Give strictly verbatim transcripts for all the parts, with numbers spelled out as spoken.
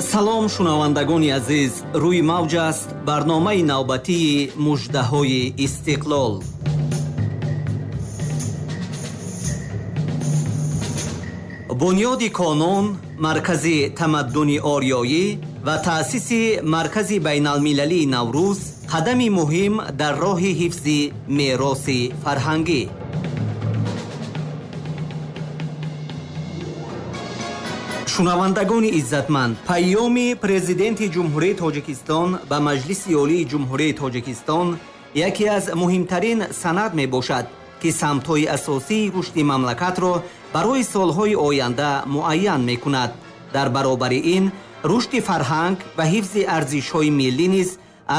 Салом, шунавандагони азиз, рӯи мавҷ аст барномаи навбатии муждаҳои истиқлол. Бунёди Конон, маркази тамаддуни ориёӣ ва таъсиси маркази байналмилалии Наврӯз қадами муҳим дар роҳи ҳифзи мероси фарҳангӣ. Шунавандагони иззатманд, паёми президенти Ҷумҳурии Тоҷикистон ба Маҷлиси Олии Ҷумҳурии Тоҷикистон яке аз муҳимтарин санад мебошад, ки самтҳои асосии рушди мамлакатро барои солҳои оянда муайян мекунад. Дар баробари ин, рушди фарҳанг ва ҳифзи арзишҳои миллӣ низ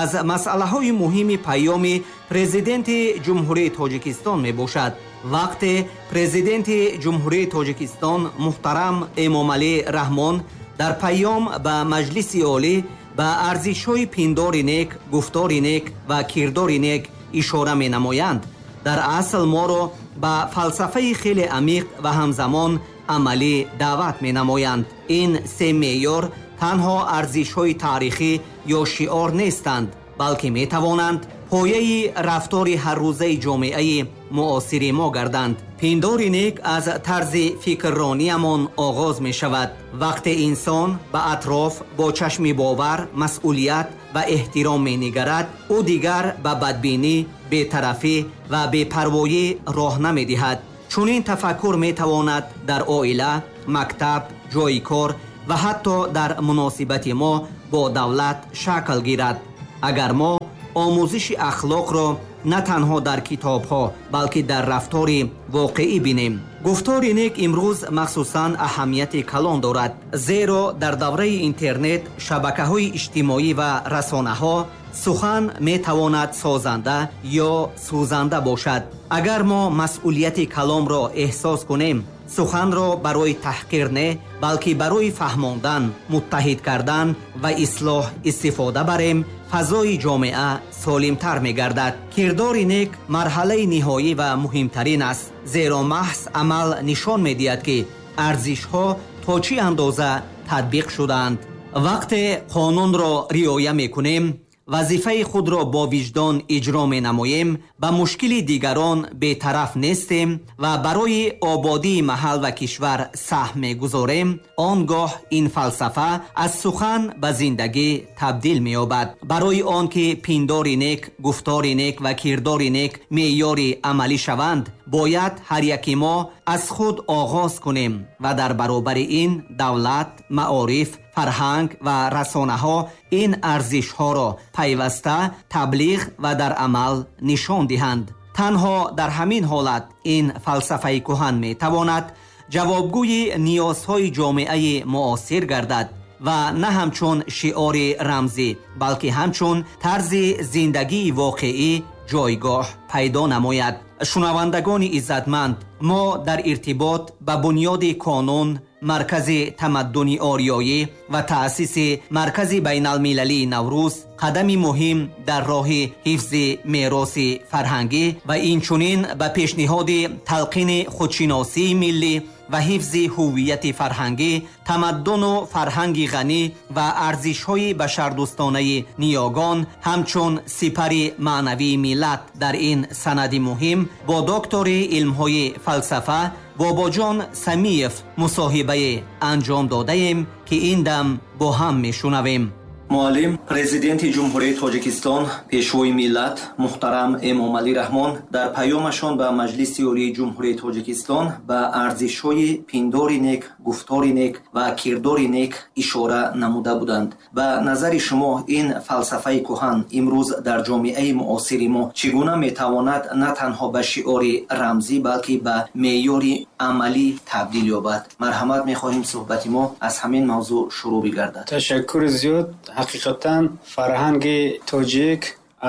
аз масъалаҳои муҳими паёми президенти Ҷумҳурии Тоҷикистон мебошад. Вақте президенти Ҷумҳурии Тоҷикистон муҳтарам Эмомалӣ Раҳмон дар паём ба Маҷлиси Олӣ ба арзишҳои пиндори нек, гуфтори нек ва кирдори нек ишора менамоянд, дар асл моро ба фалсафаи хеле амиқ ва ҳамзамон амалӣ даъват менамоянд. Ин се меъёр танҳо арзишҳои таърихӣ ё шиор нестанд, балки метавонанд пояи рафтори ҳаррӯзаи ҷомеаи муосири мо гарданд. Пиндори нек аз тарзи фикррониямон оғоз мешавад. Вақте инсон ба атроф бо чашми бовар, масъулият ва эҳтиром менигарад, ӯ дигар ба бадбинӣ, бетарафӣ ва бепарвоӣ роҳ намедиҳад. Чунин тафаккур метавонад дар оила, мактаб, ҷойи кор ва ҳатто дар муносибати мо бо давлат шакл гирад. Агар мо омӯзиши ахлоқро на танҳо дар китобҳо, балки дар рафтори воқеӣ бинем. Гуфтори нек имрӯз махсусан аҳамияти калон дорад, зеро дар давраи интернет, шабакаҳои иҷтимоӣ ва расонаҳо сухан метавонад созанда ё сӯзанда бошад. Агар мо масъулияти каломро эҳсос кунем, суханро барои таҳқир не, балки барои фаҳмондан, муттаҳид кардан ва ислоҳ истифода барем, фазои ҷомеа солимтар мегардад. Кирдори нек марҳалаи ниҳоӣ ва муҳимтарин аст, зеро маҳз амал нишон медиҳад, ки арзишҳо то чӣ андоза татбиқ шудаанд. Вақте қонунро риоя мекунем, вазифаи худро бо виҷдон иҷро менамоем, ба мушкили дигарон бетараф нестем ва барои ободии маҳал ва кишвар саҳм мегузорем, он гоҳ ин фалсафа аз сухан ба зиндагӣ табдил меёбад. Барои он ки пиндори нек, гуфтори нек ва кирдори нек меъёри амалӣ шаванд, бояд ҳар яки мо аз худ оғоз кунем ва дар баробари ин давлат, маориф, фарҳанг ва расонаҳо ин арзишҳоро пайваста таблиғ ва дар амал нишон диҳанд. Танҳо дар ҳамин ҳолат ин фалсафаи куҳан метавонад ҷавобгӯи ниёзҳои ҷомеаи муосир гардад ва на ҳамчун шиори рамзӣ, балки ҳамчун тарзи зиндагии воқеӣ ҷойгоҳ пайдо намояд. Шунавандагони иззатманд, мо дар иртибот ба бунёди Конон, маркази тамаддуни ориёӣ ва таъсиси маркази байналмилалии Наврӯз қадами муҳим дар роҳи ҳифзи мероси фарҳангӣ ва инчунин ба пешниҳоди талқини худшиносии миллӣ ва ҳифзи ҳуввияти фарҳангӣ, тамаддуну фарҳанги ғанӣ ва арзишҳои башардӯстонаи ниёгон ҳамчун сипари маънавии миллат дар ин санади муҳим бо доктори илмҳои фалсафа Бобоҷон Самиев мусоҳибае анҷом додаем, ки ин дам бо ҳам мешунавем. Муаллим, президенти Ҷумҳурии Тоҷикистон, пешвои миллат муҳтарам Эмомалӣ Раҳмон дар паёмашон ба Маҷлиси Олии Ҷумҳурии Тоҷикистон ба арзишҳои пиндори нек, гуфтори нек ва кирдори нек ишора намуда буданд. Ба назари шумо ин фалсафаи куҳан имрӯз дар ҷомеаи муосири мо чӣ гуна метавонад на танҳо ба шиори рамзӣ, балки ба меъёри амалӣ табдил ёбад? Марҳамат, мехоҳем суҳбати мо аз ҳамин мавзӯъ шурӯъ бигардад. Ташаккури зиёд. Ҳақиқатан фарҳанги тоҷик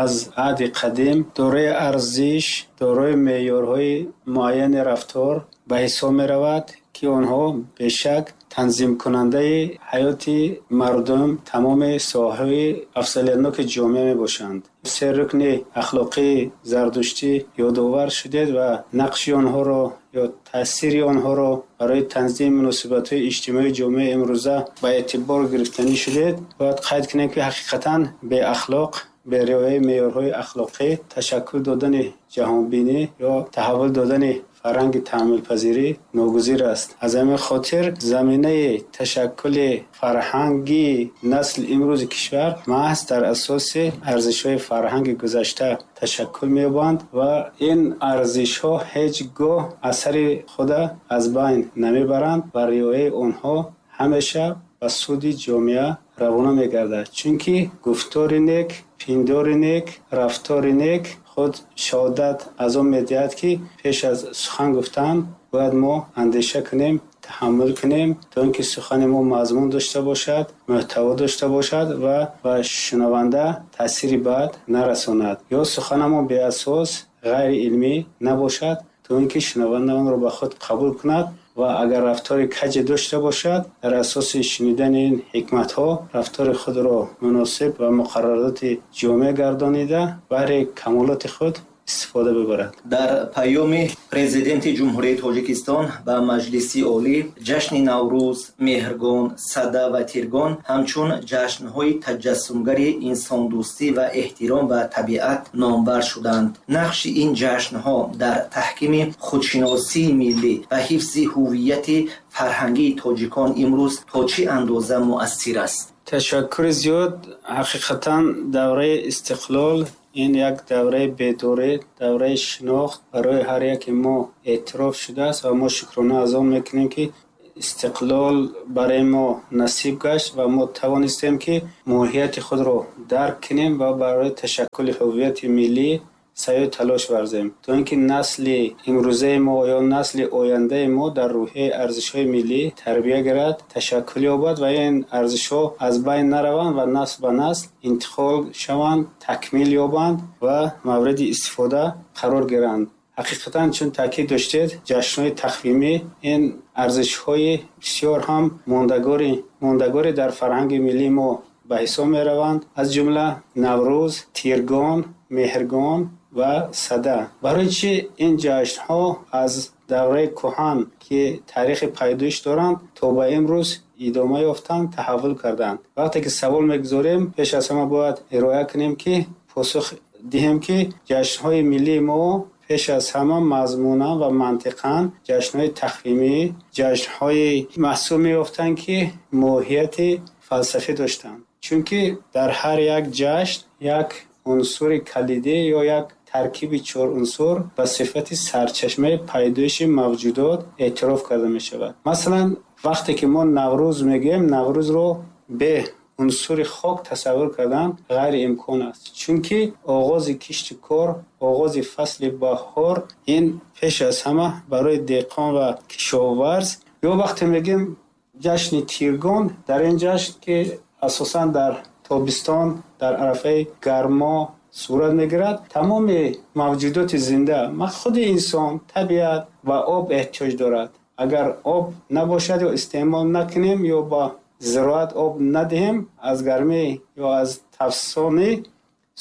аз аҳди қадим дорои арзиш, дорои меъёрҳои муайяни рафтор ба ҳисоб меравад, ки онҳо бешак танзимкунандаи ҳаёти мардум, тамоми соҳаҳои афзалиятноки ҷомеа мебошанд. Се рукни ахлоқии зардуштӣ ёдовар шудед ва нақши онҳоро ё таъсири онҳоро барои танзими муносибатҳои иҷтимоии ҷомеаи имрӯза ба эътибор гирифтанӣ шудед, бояд қайд кунем, ки ҳақиқатан беахлоқ, бе риояи меъёрҳои ахлоқӣ, ташаккул додани ҷаҳонбинӣ ё таҳаввул додани фарҳанги таҳаммулпазирӣ ногузир аст. Аз ҳамин хотир заминаи ташаккули фарҳанги насли имрӯзи кишвар маҳз дар асоси арзишҳои фарҳанги гузашта ташаккул меёбанд ва ин арзишҳо ҳеҷ гоҳ асари худа аз байн намебаранд ва риояи онҳо ҳамеша ба суди ҷомеа равона мегардад. Чунки гуфтори нек, пиндори нек, рафтори нек худ шаҳодат аз он медиҳад, ки пеш аз сухан гуфтан бояд мо андеша кунем, таҳаммул кунем, то ин ки сухани мо мазмун дошта бошад, муҳтаво дошта бошад ва ба шунаванда таъсири бад нарасонад. Ё суханамон беасос, ғайриилмӣ набошад, то ин ки шунаванда онро ба худ қабул кунад ва агар рафтори каҷе дошта бошад, дар асоси шунидани ин ҳикматҳо рафтори худро муносиб ва муқаррароти ҷомеа гардонида, баҳри камолоти худ истифода бибарад. Дар паёми Президенти Ҷумҳурии Тоҷикистон ба Маҷлиси Олӣ ҷашни Наврӯз, Меҳргон, Сада ва Тиргон ҳамчун ҷашнҳои таҷассумгари инсондӯстӣ ва эҳтиром ба табиат номбар шуданд. Нақши ин ҷашнҳо дар таҳкими худшиносии миллӣ ва ҳифзи ҳуввияти фарҳангии тоҷикон имрӯз то чӣ андоза муассир аст? Ташаккури зиёд. Ҳақиқатан давраи истиқлол ин як давраи бедорӣ, давраи шинохт барои ҳар яке мо эътироф шудааст ва мо шукрона аз он мекунем, ки истиқлол барои мо насиб гашт ва мо тавонистем, ки моҳияти худро дарк кунем ва барои ташаккули ҳуввияти миллӣ саъю талош варзем, то ин ки насли имрӯзаи мо ё насли ояндаи мо дар рӯҳияи арзишҳои миллӣ тарбия гирад, ташаккул ёбад ва ин арзишҳо аз байн нараванд ва насл ба насл интиқол шаванд, такмил ёбанд ва мавриди истифода қарор гиранд. Ҳақиқатан, чун таъкид доштед, ҷашнҳои тақвимӣ ин арзишҳои бисёр ҳам мондагори мондагоре дар фарҳанги миллии мо ба ҳисоб мераванд, аз ҷумла Наврӯз, Тиргон, Меҳргон ва Сада. Барои чӣ ин ҷашнҳо аз давраи кӯҳан, ки таърихи пайдоиш доранд, то ба имрӯз идома ёфтанд, таҳаввул карданд? Вақте ки савол мегузорем, пеш аз ҳама бояд ироа кунем, ки посух диҳем, ки ҷашнҳои миллии мо пеш аз ҳама мазмунан ва мантиқан ҷашнҳои тақвимӣ, ҷашнҳои маҳсуб меёфтанд, ки моҳияти фалсафӣ доштанд. Чунки дар ҳар як ҷашн як унсури калидӣ ё як таркиби чор унсур ба сифати сарчашмаи пайдоиши мавҷудот эътироф карда мешавад. Масалан, вақте ки мо Наврӯз мегӯем, Наврӯзро бе унсури хок тасаввур кардан ғайриимкон аст. Чунки оғози кишту кор, оғози фасли баҳор ин пеш аз ҳама барои деҳқон ва кишоварз. Ё вақте мегӯем ҷашни Тиргон, дар ин ҷашн, ки асосан дар тобистон, дар арафаи гармо сурат мегирад, тамоми мавҷудоти зинда, худи инсон, табиат ба об эҳтиёҷ дорад. Агар об набошад ё истеъмол накунем ё ба зироат об надиҳем, аз гармӣ ё аз тафсонӣ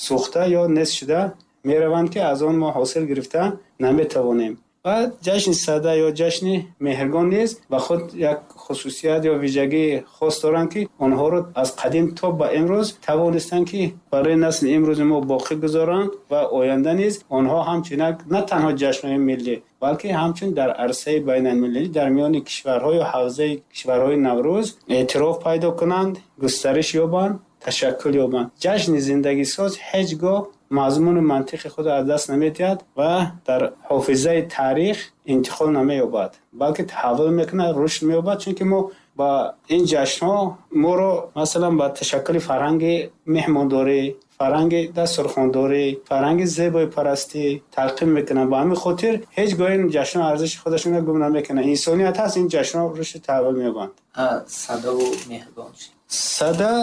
сӯхта ё нест шуда мераванд, ки аз он мо ҳосил гирифта наметавонем. Ва ҷашни Сада ё ҷашни Меҳргон низ ба худ як хусусият ё вижагии хос доранд, ки онҳоро аз қадим то ба имрӯз тавонистанд, ки барои насли имрӯзи мо боқӣ гузоранд ва оянда низ онҳо ҳамчун як на танҳо ҷашнҳои миллӣ, балки ҳамчун дар арсаи байналмилалӣ дар миёни кишварҳо ё ҳавзаи кишварҳои Наврӯз эътироф пайдо кунанд, густариш ёбанд, ташаккул ёбанд. Ҷашни зиндагисоз ҳеҷ гоҳ мазмуну мантиқи худро аз даст намедиҳад ва дар ҳофизаи таърих интиқол намеёбад, балки таҳаввул мекунад, рушд меёбад. Чунки мо ба ин ҷашнҳо моро, масалан, ба ташаккули фарҳанги меҳмондорӣ, фарҳанги дастурхондорӣ, фарҳанги зебоипарастӣ талқин мекунанд. Ба ҳамин хотир ҳеҷ гоҳ ин ҷашнҳо арзиши худашонро гум намекунанд. Инсоният ҳаст, ин ҷашнҳо рушди таҳаввул меёбанд. Садаву Меҳргон? Сада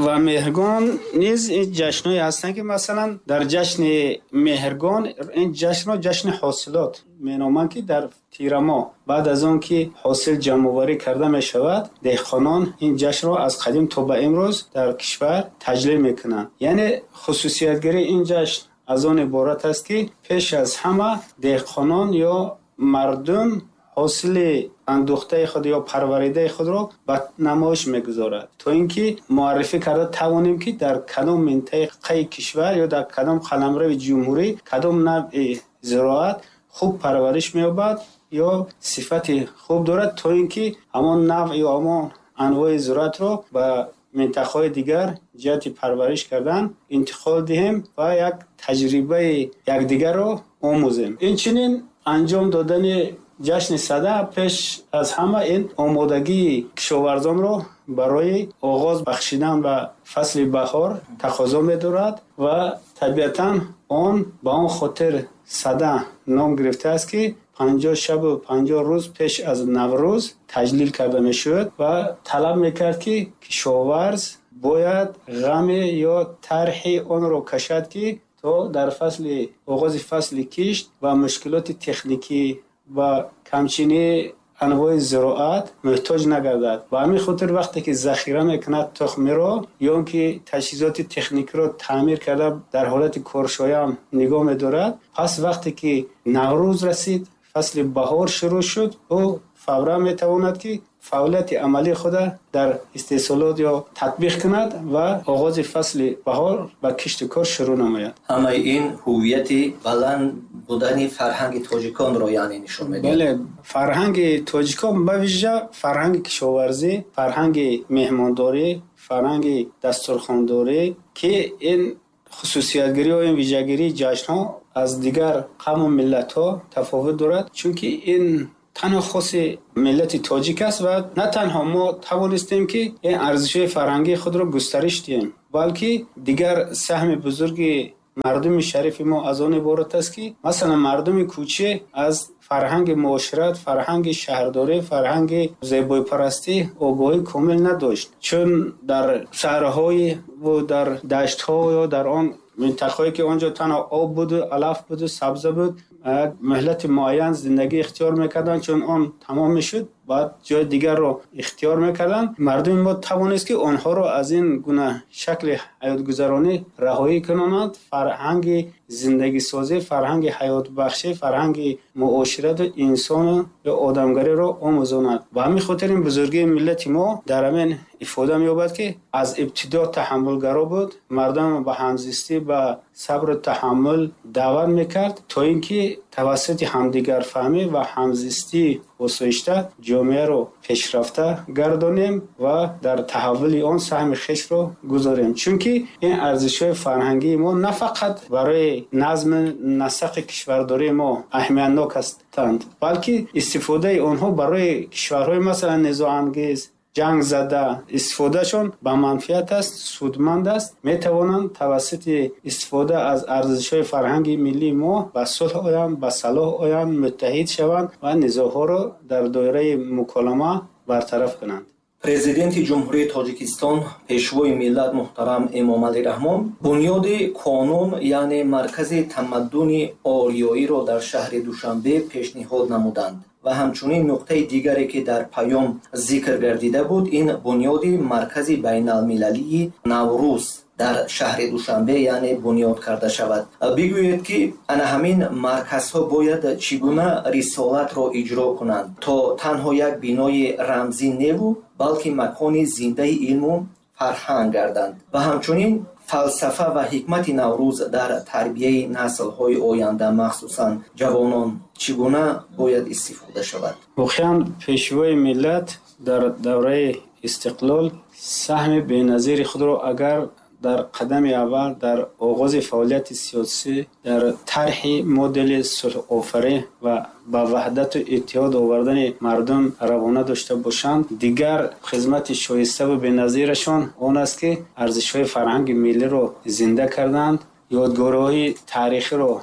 ва Меҳргон низ ин ҷашнҳое ҳастанд, ки масалан дар ҷашни Меҳргон, ин ҷашнро ҷашни ҳосилот меноманд, ки дар тирамоҳ баъд аз он ки ҳосил ҷамъоварӣ карда мешавад, деҳқонон ин ҷашнро аз қадим то ба имрӯз дар кишвар таҷлил мекунанд. Яъне хусусиятгирии ин ҷашн аз он иборат аст, ки пеш аз ҳама деҳқонон ё Мардум ҳосили андӯхтаи худ ё парваридаи худро ба намоиш мегузорад, то ин ки муаррифӣ карда тавонем, ки дар кадом минтақаи кишвар ё дар кадом қаламрави ҷумҳурӣ кадом навъи зироат хуб парвариш меёбад ё сифати хуб дорад, то ин ки ҳамон навъ ё ҳамон анвои зироатро ба минтақаҳои дигар ҷиҳати парвариш кардан интиқол диҳем ва як таҷрибаи якдигарро омӯзем. Инчунин анҷом додани ҷашни Сада пеш аз ҳама ин омодагии кишоварзонро барои оғоз бахшидан ба фасли баҳор тақозо медорад ва табиатан он ба он хотир Сада ном гирифтааст, ки панҷоҳ шабу панҷоҳ рӯз пеш аз Наврӯз таҷлил карда мешуд ва талаб мекард, ки кишоварз бояд ғаме ё тарҳи онро кашад, ки то дар фасли оғози фасли кишт ва мушкилоти техникӣ ва камчинии анвои зироат муҳтоҷ нагардад. Ба ҳамин хотир вақте ки захира мекунад тухмиро ё он ки таҷҳизоти техникиро таъмир карда дар ҳолати коршоям нигоҳ медорад, пас вақте ки Наврӯз расид, фасли баҳор шурӯъ шуд, ӯ фавран метавонад, ки фаъолияти амалии худро дар истеҳсолот ё татбиқ кунад ва оғози фасли баҳор ба кишту кор шурӯъ намояд. Ҳамаи ин ҳувияти баланд будани фарҳанги тоҷиконро яъне нишон медиҳад. Бале, фарҳанги тоҷикон, ба вижа фарҳанги кишоварзӣ, фарҳанги меҳмондорӣ, фарҳанги дастурхондорӣ, ки ин хусусиятгирӣ ё ин вижагирии ҷашнҳо аз дигар қавму миллатҳо тафовут дорад, чунки ин танҳо хоси миллати тоҷик аст ва на танҳо мо тавонистем, ки ин арзишҳои фарҳангии худро густариш диҳем, балки дигар саҳми бузурги мардуми шарифи мо аз он иборат аст, ки масалан мардуми кӯча аз фарҳанги муошират, фарҳанги шаҳрдорӣ, фарҳанги зебоипарастӣ огоҳии комил надошт, чун дар шаҳрҳои ва дар даштҳо ё дар он минтақаҳое ки он ҷо танҳо об буду алаф буду сабза буд, як муҳлати муайян зиндагӣ ихтиёр мекарданд, чун он тамом мешуд, баъд ҷои дигарро ихтиёр мекарданд. Мардуми мо тавонист, ки онҳоро аз ин гуна шакли ҳаётгузаронӣ раҳоӣ кунонад, фарҳанги зиндагисозӣ, фарҳанги ҳаётбахшӣ, фарҳанги муоширату инсону ё одамгариро омӯзонад. Ба ҳамин хотир ин бузургии миллати мо дар ҳамин ифода меёбад, ки аз ибтидо таҳаммулгаро буд, мардум ба ҳамзистӣ, ба сабру таҳаммул даъват мекард, то ин ки тавассути ҳамдигарфаҳмӣ ва ҳамзистии осоишта ҷомеаро пешрафта гардонем ва дар таҳаввули он саҳми хешро гузорем. Чунки ин арзишҳои фарҳангии мо на фақат барои назми насақи кишвардории мо аҳамиятнок ҳастанд, балки истифодаи онҳо барои кишварҳои масалан низоангез, ҷангзада истифодаашон ба манфиат аст, судманд аст. Метавонанд тавассути истифода аз арзишҳои фарҳанги миллии мо ба сулҳ оянд, ба салоҳ оянд, муттаҳид шаванд ва низоъҳоро дар доираи муколама бартараф кунанд. Президенти Ҷумҳурии Тоҷикистон, Пешвои миллат муҳтарам Эмомалӣ Раҳмон бунёди Қонун, яъне маркази тамаддуни ориёиро дар шаҳри Душанбе пешниҳод намуданд ва ҳамчунин нуқтаи дигаре, ки дар паём зикр гардида буд, ин бунёди маркази байналмилалии Наврӯз дар шаҳри Душанбе яъне бунёд карда шавад. Бигӯед, ки ана ҳамин марказҳо бояд чӣ гуна рисолатро иҷро кунанд, то танҳо як бинои рамзӣ неву, балки макони зиндаи илму фарҳанг гарданд ва ҳамчунин фалсафа ва ҳикмати Наврӯз дар тарбияи наслҳои оянда, махсусан ҷавонон, чӣ гуна бояд истифода шавад? Воқеан, Пешвои миллат дар давраи истиқлол саҳми беназири худро агар дар қадами аввал дар оғози фаъолияти сиёсӣ дар тарҳи модели сулҳофарӣ ва ба ваҳдату иттиҳод овардани мардум равона дошта бошанд, дигар хизмати шоиставу беназирашон он аст, ки арзишҳои фарҳанги миллиро зинда карданд, ёдгориҳои таърихиро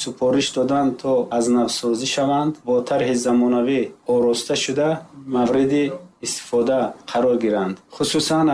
супориш доданд, то аз навсозӣ шаванд, бо тарҳи замонавӣ ороста шуда мавриди истифода қарор гиранд. Хусусан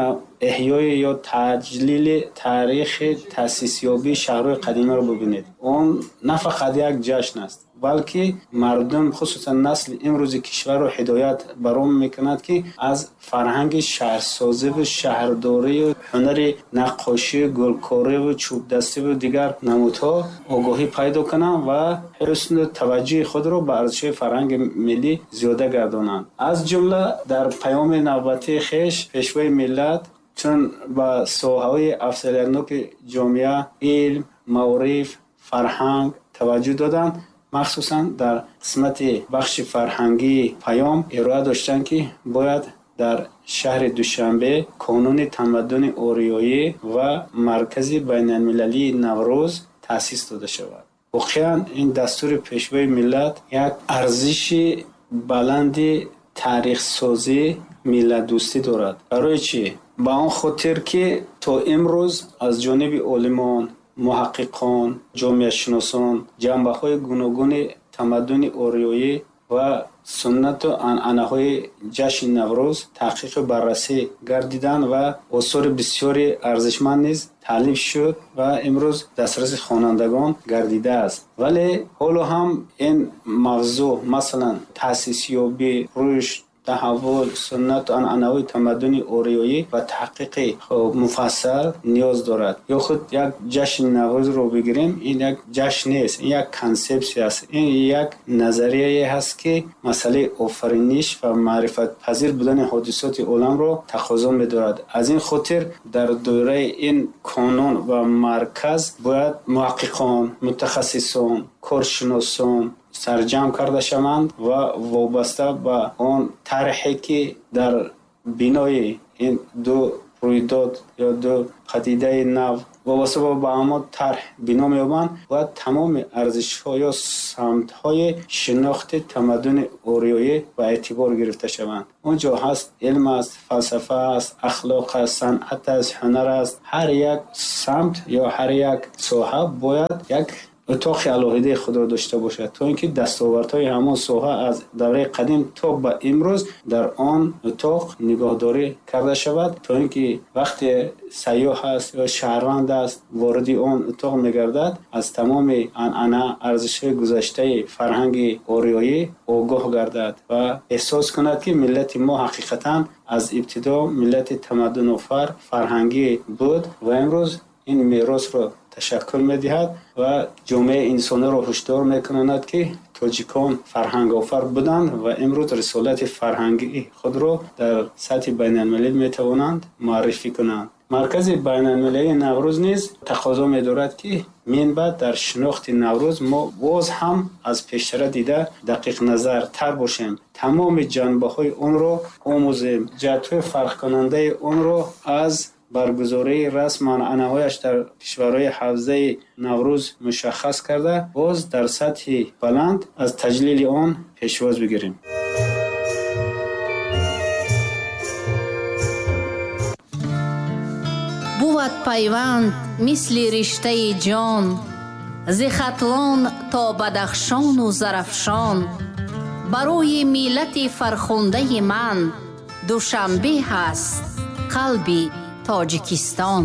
эҳёи ё таҷлили таърихи таъсисёбии шаҳрҳои қадимаро бибинед. Он на фақат як ҷашн аст, Балки мардум, хусусан насли имрӯзи кишварро ҳидоят баром мекунад, ки аз фарҳанги шаҳрсозиву шаҳрдорию ҳунари наққошию гулкориву чӯбдастиву дигар намудҳо огоҳӣ пайдо кунанд ва ҳусну таваҷҷӯҳи худро ба арзишҳои фарҳанги миллӣ зиёда гардонанд. Аз ҷумла дар паёми навбатии хеш Пешвои миллат чун ба соҳаҳои афзалиятноки ҷомеа, илм, маориф, фарҳанг таваҷҷӯҳ доданд, махсусан дар қисмати бахши фарҳангии паём ироа доштанд, ки бояд дар шаҳри Душанбе Конуни тамаддуни ориёӣ ва Маркази байналмилалии Наврӯз таъсис дода шавад. Воқеан ин дастури Пешвои миллат як арзиши баланди таърихсозӣ, миллатдӯстӣ дорад. Барои чӣ? Ба он хотир, ки то имрӯз аз ҷониби олимон, муҳаққиқон, ҷомеашиносон ҷанбаҳои гуногуни тамаддуни ориёӣ ва суннату анъанаҳои ҷашни Наврӯз таҳқиқу баррасӣ гардиданд ва осори бисёри арзишманд низ таълиф шуд ва имрӯз дастраси хонандагон гардидааст. Вале ҳоло ҳам ин мавзӯъ, масалан, таъсисёбӣ, рушд, таҳаввул, суннату анъанаҳои тамаддуни ориёӣ ва таҳқиқи муфассал ниёз дорад. Ё худ як ҷашни Наврӯзро бигирем, ин як ҷашн нест, ин як консепсия аст, ин як назарияе ҳаст, ки масъалаи офариниш ва маърифатпазир будани ҳодисоти оламро тақозо медорад. Аз ин хотир дар доираи ин конун ва марказ бояд муҳаққиқон, мутахассисон, коршиносон сарҷамъ карда шаванд ва вобаста ба он тарҳе, ки дар бинои ин ду рӯйдод ё ду падидаи нав вобаста ба ҳамон тарҳ бино меёбанд, бояд тамоми арзишҳо ё самтҳои шинохти тамаддуни ориёӣ ба эътибор гирифта шаванд. Он ҷо ҳаст илм аст, фалсафа аст, ахлоқ аст, санъат аст, ҳунар аст. Ҳар як самт ё ҳар як соҳа бояд як утоқи алоҳидаи худро дошта бошад, то ин ки дастовардҳои ҳамон соҳа аз давраи қадим то ба имрӯз дар он утоқ нигоҳдорӣ карда шавад, то ин ки вақте сайёҳ аст ё шаҳрванд аст вориди он утоқ мегардад, аз тамоми анъана, арзишҳои гузаштаи фарҳанги ориёӣ огоҳ гардад ва эҳсос кунад, ки миллати мо ҳақиқатан аз ибтидо миллати тамаддунофар, фарҳангӣ буд ва имрӯз ин меросро ташаккул медиҳад ва ҷомеаи инсониро ҳушдор мекунад, ки тоҷикон фарҳангофар буданд ва имрӯз рисолати фарҳангии худро дар сатҳи байналмилалӣ метавонанд муаррифӣ кунанд. Маркази байналмилалии Наврӯз низ тақозо медорад, ки минбаъд дар шинохти Наврӯз мо боз ҳам аз пештара дида дақиқназартар бошем, тамоми ҷанбаҳои онро омӯзем, ҷиҳатҳои фарқкунандаи онро аз баргузории расму анъанаҳояш дар кишварҳои ҳавзаи Наврӯз мушаххас карда, боз дар сатҳи баланд аз таҷлили он пешвоз бигирем. Бувад пайванд мисли риштаи ҷон, зи Хатлон то Бадахшону Зарафшон. Барои миллати фархундаи ман Душанбе ҳаст қалби Тоҷикистон.